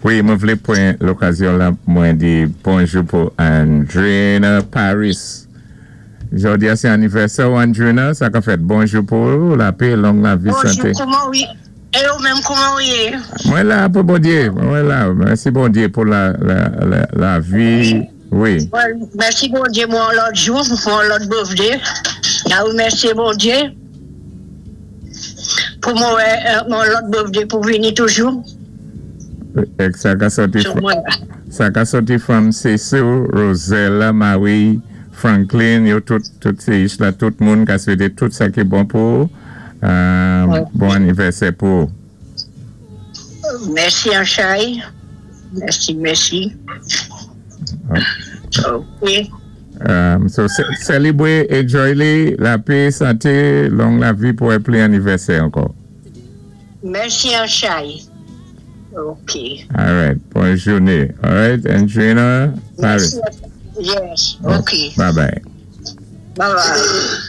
Wi, mwen vlé pwan lokazyon la mwen di bonjou pou Andrina Paris. Jòdi-a sé anivèsè ou, Andrina, sa ka fèt bonjou pou ou, lapé, long lavi, santé. Bonjou, kouman ou yé? É ou menm, kouman ou yé? Mwen la pou Bondyé, mwen la, mèsi Bondyé pou la la la lavi, wi. Mèsi Bondyé mwen yon lòt jou, mwen yon lòt birthday, na remèsyé Bondyé pou mwen wè yon lòt birthday pou vini toujou. Èk sa ka sòti sa ka sòti fanm Cecil, Rosella, Marie, Franklin, yo tout tout sé ich la tout moun ka swété tout sa ki bon pou ou. Bon anivèsè pou ou. Mèsi Anchay. Mèsi mèsi. Ok. So selebre, enjoy li, lapé, santé, long lavi pou wè plen anivèsè ankò. Mèsi Anchay. Ok. Alright, bon jouné. Alright, Andrina Paris. Yes, ok. Bye bye. Bye bye.